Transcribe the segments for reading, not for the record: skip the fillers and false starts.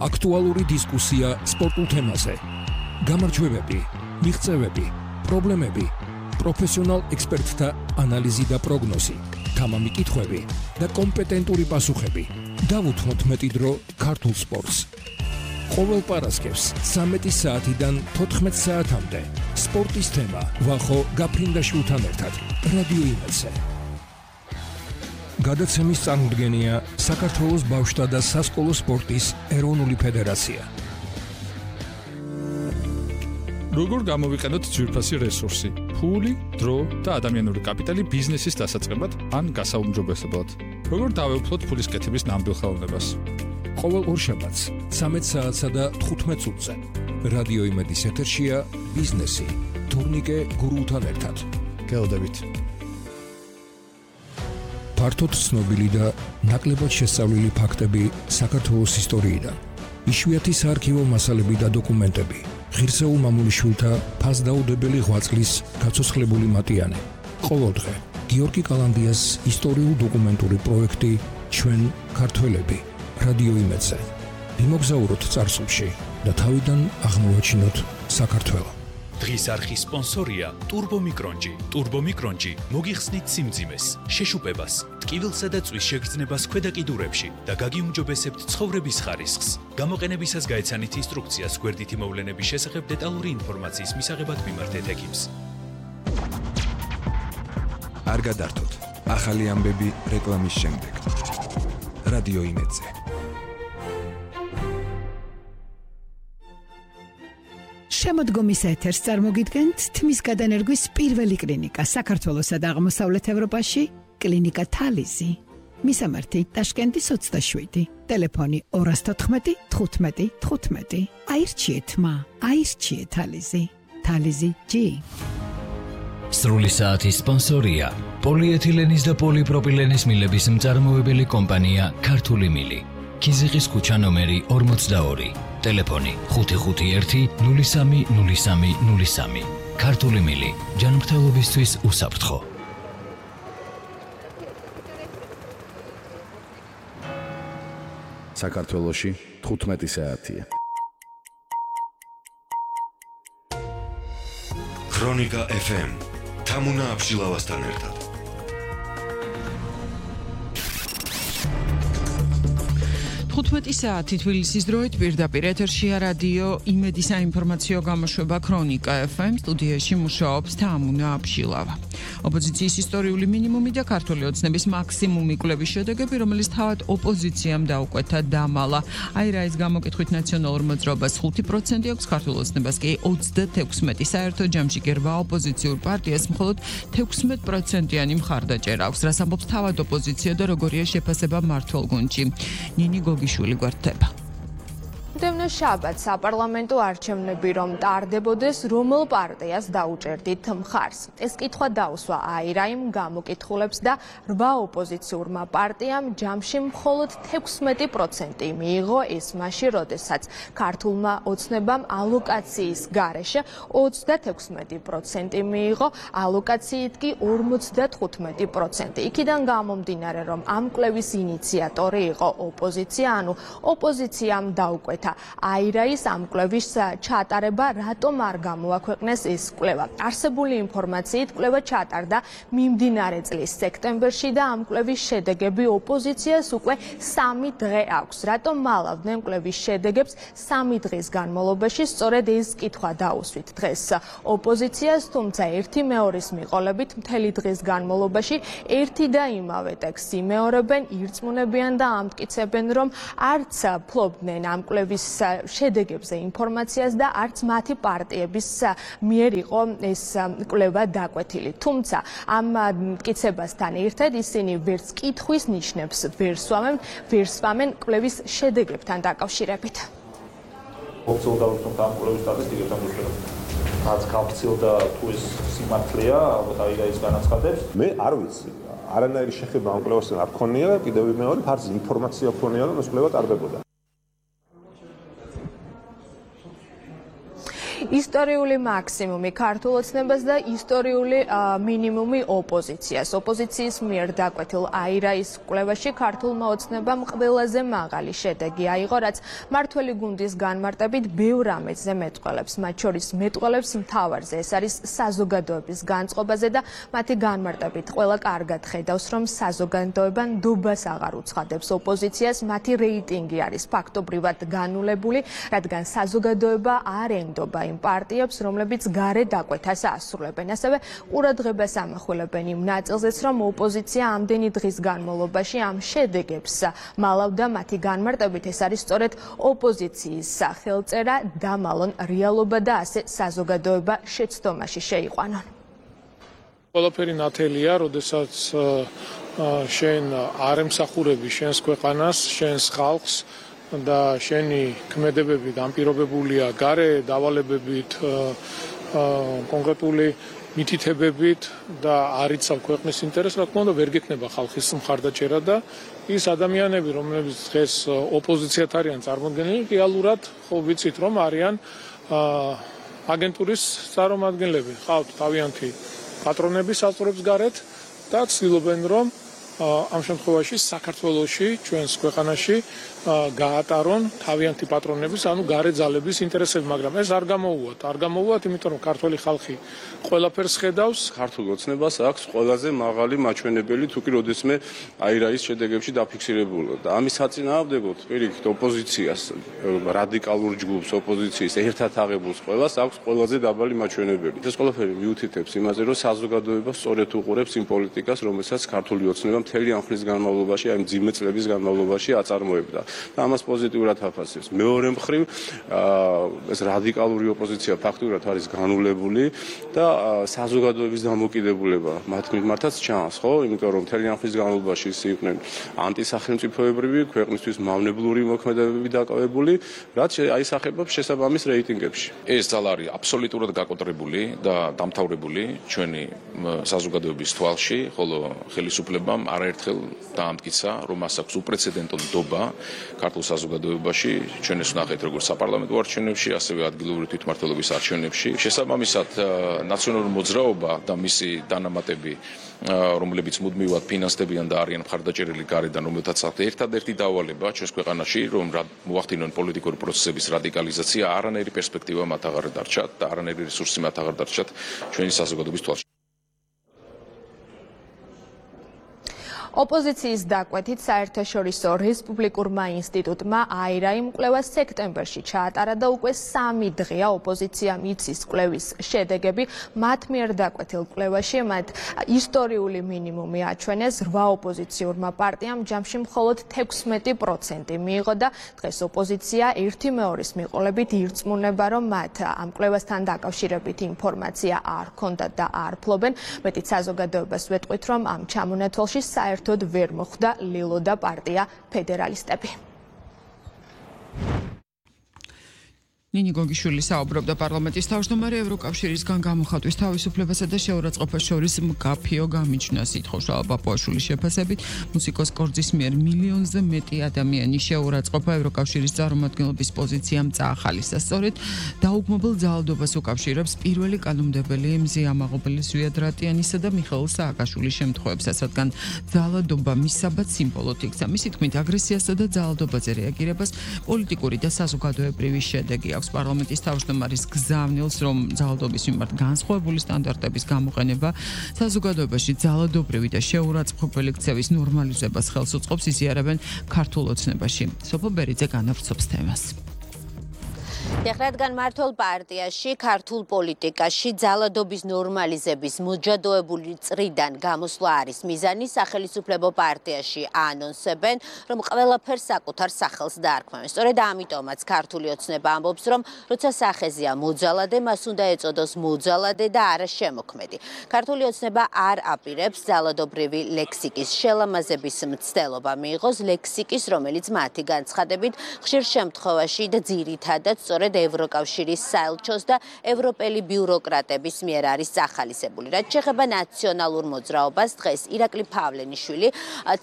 აქტუალური დისკუსია სპორტულ თემაზე. გამარჯვებები, მიღწევები, პრობლემები, პროფესიონალ ექსპერტთა ანალიზი და პროგნოზი, თამამი კითხვები და კომპეტენტური პასუხები. დავუთმოთ მეტი დრო ქართულ სპორტს. ყოველ პარასკევს 13 საათიდან 14 საათამდე სპორტის თემა ვახო გაფრინდაშვილთან ერთად რადიო იმედზე. გადაცემის წარმოდგენია საქართველოს ბავშვთა და სასკოლო სპორტის ეროვნული ფედერაცია. როგორ გამოვიყენოთ ძვირფასი რესურსი, ფული, დრო და ადამიანური კაპიტალი ბიზნესის დასაწყებად ან გასაუმჯობესებლად? როგორ დავეუფლოთ ფულის კეთების ნამდვილ ხელოვნებას? ყოველ ორშაბათს 13 საათსა და 15 წუთზე რადიო იმედის ეთერშია ბიზნესი თურნიკე გურულთან ერთად. გელოდებით. ფართოდ ცნობილი და ნაკლებად შესწავლილი ფაქტები საქართველოს ისტორიიდან. იშვიათი საარქივო მასალები და დოკუმენტები. ღირსეულ მამულიშვილთა ფასდაუდებელი ღვაწლის გაცოცხლებული მატიანე. ყოველდღე გიორგი კალანდიას ისტორიულ-დოკუმენტური პროექტი ჩვენ ქართველები რადიო იმედზე. მიმოგზაუროთ წარსულში და თავიდან აღმოვაჩინოთ საქართველოს. დღის არხის სპონსორია ტურბომიკრონჯი. ტურბომიკრონჯი მოგიხსნით სიმძიმეს, შეშუპებას, ტკივილსა და წვის შეგრძნებას ქვედა კიდურებში და გაგიუმჯობესებთ ცხოვრების ხარისხს. გამოყენებისას გაეცანით ინსტრუქციას გვერდითი მოვლენების შესახებ დეტალური ინფორმაციის მისაღებად მიმართეთ ექიმს. არ გადართოთ. ახალი ამბები რეკლამის შემდეგ. რადიო იმედზე. შემოდგომის ეთერს წარმოგიდგენთ თმის გადანერგვის პირველი კლინიკა საქართველოსა და აღმოსავლეთ ევროპაში, კლინიკა თალიზი. მისამართი ტაშკენტის 27, ტელეფონი 214 15 15. აირჩიეთ მა, აირჩიეთ თალიზი. თალიზი G. სრული საათის სპონსორია პოლიეთილენის და პოლიპროპილენის მილების მწარმოებელი კომპანია ქართული მილი. ქიზიყის ქუჩა ნომერი 42, ტელეფონი 551 03 03 03. ქართული მილი, ჯანმრთელობისთვის უსაფრთხო. საქართველოში 15 საათია. ქრონიკა FM თამუნა აბშილავასთან ერთად. საათი თბილისის დროით პირდაპირ ეთერშია რადიო იმედის საინფორმაციო გამოშვება ქრონიკა FM. სტუდიაში მუშაობს თამუნა აბშილავა. ოპოზიციის ისტორიული მინიმუმი და ქართული ოცნების მაქსიმუმი კვლევის შედეგები, რომელიც თავად ოპოზიციამ დაუკვეთა დამალა. აირაის გამოკითხვით ნაციონალურ მოძრაობას 5% აქვს, ქართულ ოცნებას კი 36. საერთო ჯამში კი 8 ოპოზიციურ პარტიას მხოლოდ 16%-იანი მხარდაჭერა აქვს, რაც ამბობს თავად ოპოზიცია და როგორია შეფასება მმართველ გუნდში. ნინი გოგიშვილი გვერდება. Demno შაბათს საპარლამენტო არჩევნები რომ ტარდებოდეს, რომელ პარტიას დაუჭერდით მხარს. ეს კითხვა დაუსვა აირაიმ გამოკითხულებს და 8 ოპოზიციურმა პარტიამ ჯამში მხოლოდ 16% მიიღო ეს მაშინ, როდესაც ქართულმა ოცნებამ ალოკაციის გარეშე 36% მიიღო, ალოკაციით კი 55%. იქიდან გამომდინარე, რომ ამ კვლევის ინიციატორი იყო ოპოზიცია, ანუ ოპოზიციამ დაუკვეთა აირაის ამ კვლევის ჩატარება, რატომ არ გამოაქვეყნეს ეს კვლევა. არსებული ინფორმაციით კვლევა ჩატარდა მიმდინარე წლის სექტემბერში და ამ კვლევის შედეგები ოპოზიციას უკვე 3 დღე აქვს. რატომ მალავდნენ კვლევის შედეგებს 3 დღის განმავლობაში? სწორედ ეს კითხვა დაუსვით დღეს ოპოზიციას, თუმცა ერთი მეორის მიყოლებით მთელი დღის განმავლობაში ერთი და იმავე ტექსტს იმეორებენ, ირწმუნებიან და ამტკიცებენ, რომ არც ფლობდნენ ამ კვლევის შედეგებზე ინფორმაციას და არც მათი პარტიების მიერ იყო ეს კვლევა დაკვეთილი. თუმცა ამ მტკიცებასთან ერთად ისინი ვერც კითხვის ნიშნებს ვერ სვამენ კვლევის შედეგებთან დაკავშირებით. ოფიციალურად დავუწყოთ ამ კვლევის სტატისტიკებს ამ დროს. რაც გავხსილდა თუ ეს სიმართლეა, ალბათ აირაის განაცხადებს. მე არ ვიცი. არანაირი შეხება ამ კვლევასთან არ ქონია და კიდევ მეორე ფარზე ინფორმაცია ქონია, რომ ეს კვლევა ტარდებოდა. ისტორიული მაქსიმუმი ქართულ ოცნებას და ისტორიული მინიმუმი ოპოზიციას. ოპოზიციის მიერ დაკვეთილ აირაის კვლევაში ქართულმა ოცნებამ ყველაზე მაღალი შედეგი აიღო, რაც მართველი გუნდის განმარტებით ბევრ ამეცზე მეტყველებს. მათ შორის მეტყველებს მთავარზე, ეს არის საზოგადოების განწყობაზე და მათი განმარტებით ყველა კარგად ხედავს, რომ საზოგადოება ნდობას აღარ უცხადებს ოპოზიციას, მათი რეიტინგი არის ფაქტობრივად განულებული, რადგან საზოგადოება არ ენდობა იმ პარტიებს, რომლებიც გარე დაკვეთას ასრულებენ. ასევე ყურადღებას ამახვილებენ იმ ნაწილზეც, რომ ოპოზიცია ამდენი დღის განმავლობაში ამ შედეგებს მალავდა. მათი განმარტებით ეს არის სწორედ ოპოზიციის სახელწერა, დამალონ რეალობა და ასე საზოგადოება შეცდომაში შეიყვანონ. ყველაფერი ნათელია, როდესაც შენ არ ემსახურები შენს ქვეყანას, შენს ხალხს და შენი ქმედებები განპირობებულია გარე დავალებებით, კონკრეტული მითითებებით და არ იცავ ქვეყნის ინტერესს, რა თქმა უნდა, ვერ გექნება ხალხის მხარდაჭერა და ის ადამიანები, რომლებიც დღეს ოპოზიციად არიან წარმოდგენილი, რეალურად ხო ვიცით, რომ არიან აგენტურის წარმომადგენლები, ხავთ თავიანთი პატრონები საზღვრებს გარეთ და ცდილობენ, რომ ამ შემთხვევაში საქართველოში, ჩვენს ქვეყანაში გაატარონ თავიანთი პატრონების, ანუ გარე ძალების ინტერესები, მაგრამ ეს არ გამოუვათ, იმიტომ რომ ქართველი ხალხი ყველაფერს ხედავს. ქართულ ოცნებას აქვს ყველაზე მაღალი მაჩვენებელი, თუ კი როდესმე აირაის შედეგებში დაფიქსირებულა და ამის საწინააღმდეგოდ პირიქით ოპოზიციას, რადიკალურ ჯგუფს, ოპოზიციის ერთად აღებულს ყველას აქვს ყველაზე დაბალი მაჩვენებელი. ეს ყველაფერი მიუთითებს იმაზე, რომ საზოგადოება სწორედ უყურებს იმ პოლიტიკას, რომელსაც ქართული ოცნება მთელი ამ ხნის განმავლობაში, აი მძიმე წლების განმავლობაში აწარმოებდა. და ამას პოზიტიურად აფასებს. მეორე მხრივ, ეს რადიკალური ოპოზიცია ფაქტურად არის განულებული და საზოგადოების დამოკიდებულება მათ მიმართაც ჩანს, ხო? იმიტომ რომ მთელი ამ ხნის განმავლობაში ისე იყვნენ ანტისახელმწიფოებრივი, ქვეყნისთვის მავნებლური მოქმედებები დაკავებული, რაც აისახება შესაბამის რეიტინგებში. ეს ძალა არის აბსოლუტურად გაკოტრებული და დამთავრებული ჩვენი საზოგადოების თვალში, ხოლო ხელისუფლებამ არაერთხელ დაამტკიცა, რომ მას აქვს უპრეცედენტო ნდობა ქართულ საზოგადოებაში, ჩვენ ეს ვნახეთ როგორც საპარლამენტო არჩევნებში, ასევე ადგილობრივი თვითმმართველობის არჩევნებში. შესაბამისად, ნაციონალური მოძრაობა და მისი დანამატები, რომლებიც მუდმივად ფინანსდებიან და არიან მხარდაჭერილი გარედან, რომელთაც ერთადერთი დავალება ჩვენს ქვეყანაში, რომ მოახდინონ პოლიტიკური პროცესების რადიკალიზაცია, არანაირი პერსპექტივა მათ აღარ დარჩათ და არანაირი რესურსი მათ აღარ დარჩათ ჩვენი საზოგადოების თვალში. ოპოზიციის დაკვეთით საერთაშორისო რესპუბლიკურმა ინსტიტუტმა აირაიმ კვლევას სექტემბერში ჩაატარა და უკვე 3 დღეა ოპოზიციამ იცის კვლევის შედეგები. მათ მიერ დაკვეთილ კვლევაში მათ ისტორიული მინიმუმი აჩვენეს 8 ოპოზიციურმა პარტიამ, ჯამში მხოლოდ 16% მიიღო და დღეს ოპოზიცია 1/2-ის მიყოლებით ირწმუნება, რომ მათ ამ კვლევასთან დაკავშირებით ინფორმაცია არ ჰქონდათ და არ ფლობენ. მეტიც საზოგადოებას ვეტყვით, რომ ამ ჩამონათვალში საერთოდ ვერ მოხვდა ლილო და პარტია ფედერალისტები. ნინი გოგიშვილი საუბრობდა პარლამენტის თავმჯდომარე ევროკავშირისგან გამოხატვის თავისუფლებასა და შეურაცხყოფას შორის მკაფიო გამიჩნევას ითხოვს პაპუაშვილის შეფასებით. მუსიკოს კორძის მიერ მილიონზე მეტი ადამიანი შეურაცხყოფა ევროკავშირის წარმომადგენლობის პოზიციამ წაახალისა. სწორედ დაუგმობილ ძალადობას უკავშირებს პირველი კანონმდებელი მზია მაღობელის, ზვიად რატიანისა და მიხეილ სააკაშვილის შემთხვევებსაც, რადგან ძალადობა მისაბად სიმბოლოდ იქცა. მისი თქმით, აგრესიასა და ძალადობაზე რეაგირებას პოლიტიკური და საზოგადოებრივი შედეგი პარლამენტის თავმჯდომარის გზავნილს, რომ ძალადობის მიმართ განსხვავებული სტანდარტების გამოყენება საზოგადოებაში ძალადობრივი და შეურაცხყოფელი ქცევის ნორმალიზებას ხელს უწყობს, იზიარებენ ქართულ ოცნებაში. სოფო ბერიძე განავრცობს თემას. რადგან მართლ პარტიაში, ქართულ პოლიტიკაში ძალადობის ნორმალიზების მოჯადოებული წრიდან გამოსვლა არის მიზანი, სახელმწიფო პარტიაში ანონსებენ, რომ ყველაფერს საკუთარ სახელს დაარქმევენ. სწორედ ამიტომაც ქართული ოცნება ამბობს, რომ როცა სახეზია მოძალადე, მას უნდა ეწოდოს მოძალადე და არა შემოქმედი. ქართული ოცნება არ აპირებს ძალადობრივი ლექსიკის შელამაზების მცდელობა მიიღოს ლექსიკის, რომელიც მათი განცხადებით ხშირ შემთხვევაში და ძირითადად სწორედ სწორედ ევროკავშირის საელჩოს და ევროპელი ბიუროკრატების მიერ არის წახალისებული. რაც შეეხება ნაციონალურ მოძრაობას, დღეს ირაკლი ფავლენიშვილი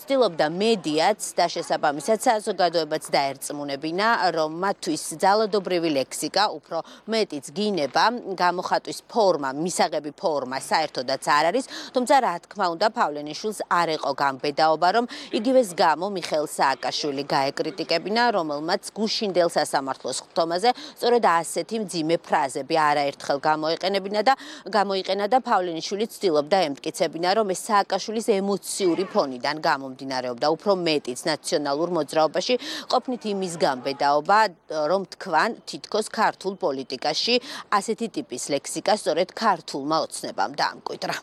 ცდილობდა მედიაც და შესაბამისად საზოგადოებაც დაერწმუნებინა, რომ მათთვის ძალადობრივი ლექსიკა, უფრო მეტიც გინება, გამოხატვის ფორმა, მისაღები ფორმა საერთოდაც არ არის, თუმცა რა თქმა უნდა ფავლენიშვილს არ ეყო გამბედაობა, რომ იგივეს გამო მიხეილ სააკაშვილი გაეკრიტიკებინა, რომელმაც გუშინდელ სასამართლოს ხტომაზე სწორედ ასეთი მძიმე ფრაზები არაერთხელ გამოიყენა და ფავლენიშვილი ცდილობდა ემტკიცებინა, რომ ეს სააკაშვილის ემოციური ფონიდან გამომდინარეობდა, უფრო მეტიც ნაციონალურ მოძრაობაში ყოფნით იმის გამბედაობა, რომ თქვან თითქოს ქართულ პოლიტიკაში ასეთი ტიპის ლექსიკა სწორედ ქართულმა ოცნებამ დაამკვიდრა.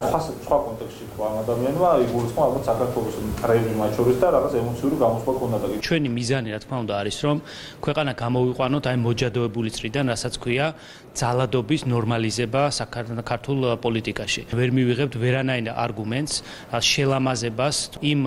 სხვა კონტექსტში თქვა ამ ადამიანმა იგულისხმო ალბათ საქართველოს რევი მათ შორის და რაღაც ემოციური გამოსვლა ქონდა და ჩვენი მიზანი რა თქმა უნდა არის რომ ქვეყანა გამოვიყვანოთ აი მოჯადოებული წრიდან, რასაც ქვია ძალადობის ნორმალიზება საქართველოს პოლიტიკაში. ვერ მივიღებთ ვერანაირ არგუმენტს, შელამაზებას იმ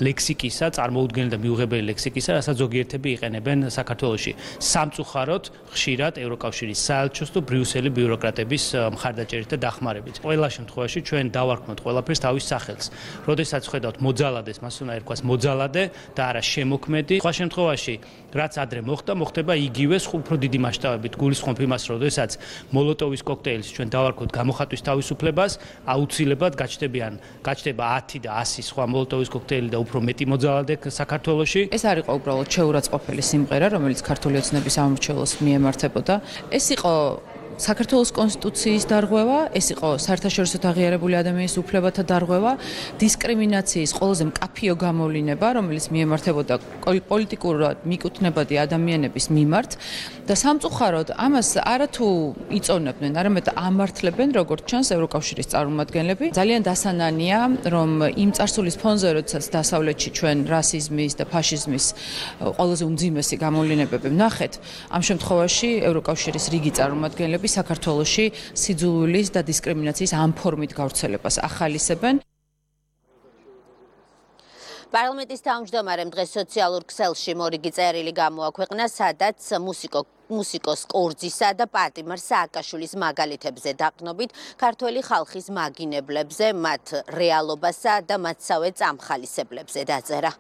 ლექსიკისა, წარმოუდგენელი და მიუღებელი ლექსიკისა, რასაც ზოგიერთები იყენებენ საქართველოში. სამწუხაროდ ხშირად ევროკავშირის საელჩოს თუ ბრიუსელის ბიუროკრატების მხარდაჭერით და დახმარებით. ყველა შემთხვევაში ჩვენ დავარქმოთ ყველაფერს თავის სახელს. როდესაც ხედავთ მოძალადეს, მას უნდა ერქვას მოძალადე და არა შემოქმედი. სხვა შემთხვევაში რაც ადრე მოხდება იგივე უფრო დიდი მასშტაბებით. გულისხმობ იმას, როდესაც მოლოტოვის კოქტეილს ჩვენ დავარქმოთ გამოხატვის თავისუფლებას, აუცილებლად გაჩნდება 10 და 100 სხვა მოლოტოვის კოქტეილი და უფრო მეტი მოძალადე საქართველოში. ეს არ იყო უბრალოდ შეურაცხყოფელი სიმღერა, რომელიც ქართული ოცნების სამმართველოს მიემართებოდა. ეს იყო საქართველოს კონსტიტუციის დარღვევა, ეს იყო საერთაშორისო აღიარებული ადამიანის უფლებათა დარღვევა, დისკრიმინაციის ყველაზე მკაფიო გამოვლინება, რომელიც მიემართებოდა პოლიტიკურად მიკუთვნებადი ადამიანების მიმართ და სამწუხაროდ ამას არათუ იწონებდნენ, არამედ ამართლებენ, როგორც ჩანს ევროკავშირის წარმომადგენლები. ძალიან დასანანია, რომ იმ წარსულის ფონზე, როდესაც დასავლეთში ჩვენ რასიზმის და ფაშიზმის ყველაზე უმძიმესი გამოვლენებები ვნახეთ, ამ შემთხვევაში ევროკავშირის რიგი წარმომადგენლები საქართველოში სიძულვილის და დისკრიმინაციის ამ ფორმით გავრცელებას ახალისებენ. პარლამენტის თავმჯდომარემ დღეს სოციალურ ქსელში მორიგი წერილი გამოაქვეყნა, სადაც მუსიკოს კორძისა და პატიმარ სააკაშვილის მაგალითებზე დაყნობით ქართველი ხალხის მაგინებლებზე, მათ რეალობასა და მათსავე წამხალისებლებზე დაწერა.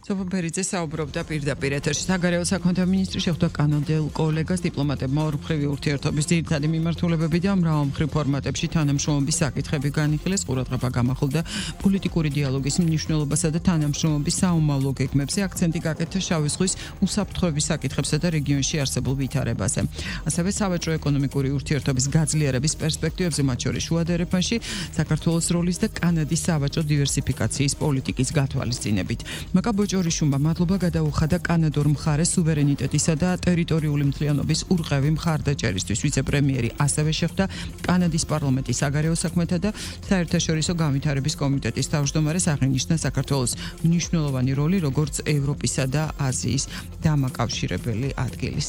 სოფო ბერიძე საუბრობდა პირდაპირ ეთერში. საგარეო საქმეთა მინისტრი შეხვდა კანადელ კოლეგას დიპლომატებმა ორმხრივი ურთიერთობის ძირითადი მიმართულებები და მრავალმხრივ ფორმატებში თანამშრომლობის საკითხები განიხილეს. ყურადღება გამახვილდა პოლიტიკური დიალოგის მნიშვნელობასა და თანამშრომლობის საომავლო გეგმებზე. აქცენტი გაკეთა შავი ზღვის უსაფრთხოების საკითხებსა და რეგიონში არსებულ ვითარებაზე. ასევე სავაჭრო ეკონომიკური ურთიერთობის გაძლიერების პერსპექტივებზე, მათ შორის შუა დერეფანში, საქართველოს როლის და კანადის სავაჭრო დივერსიფიკაციის პოლიტიკის გათვალისწინებით. ჯორიშუმმა მადლობა გადაუხადა კანადურ მხარეს სუვერენიტეტისა და ტერიტორიული მთლიანობის ურყევი მხარდაჭერისთვის. ვიცე-პრემიერი ასევე შეხვდა კანადის პარლამენტის საგარეო საქმეთა და საერთაშორისო განვითარების კომიტეტის თავმჯდომარეს, აღინიშნა საქართველოს მნიშვნელოვანი როლი როგორც ევროპისა და აზიის დამაკავშირებელი ადგილის.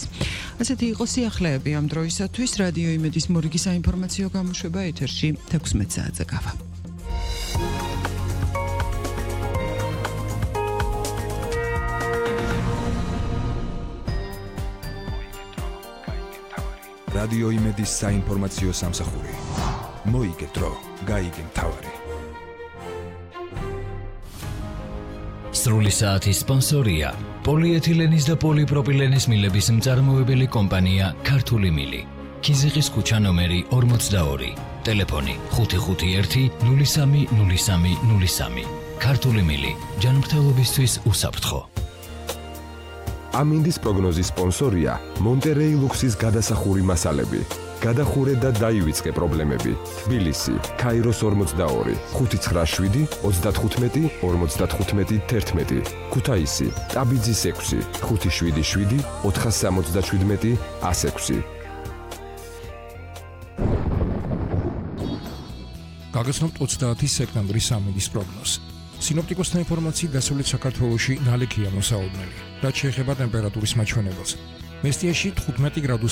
ასეთი იყო სიახლეები ამ დროისათვის. რადიო იმედის მორიგი საინფორმაციო გამოშვება ეთერში 16 საათზე გავა. რადიო იმედის საინფორმაციო სამსახური. მოიგე დრო, გაიგე მთავარი. სრული საათის სპონსორია პოლიეთილენის და პოლიპროპილენის მილების მწარმოებელი კომპანია ქართული მილი. ქიზიყის ქუჩა ნომერი 42, ტელეფონი 551 03 03 03. ქართული მილი, ჯანმრთელობისთვის უსაფრთხო. ამინდის პროგნოზის სპონსორია მონტერეი ლუქსის გადასახური მასალები. გადახურე და დაივიწყე პრობლემები. თბილისი, ქაიროს 42, 597 35 55 11. ქუთაისი, ტაბიძის 6, 577 477 106. გაგაცნობთ 30 სექტემბრის ამინდის პროგნოზი. სინოპტიკოსთა ინფორმაციით დასავლეთ საქართველოში ნალექია მოსაოდნელი. რაც შეეხება ტემპერატურის მაჩვენებელს. მესტიაში 15 გრადუსი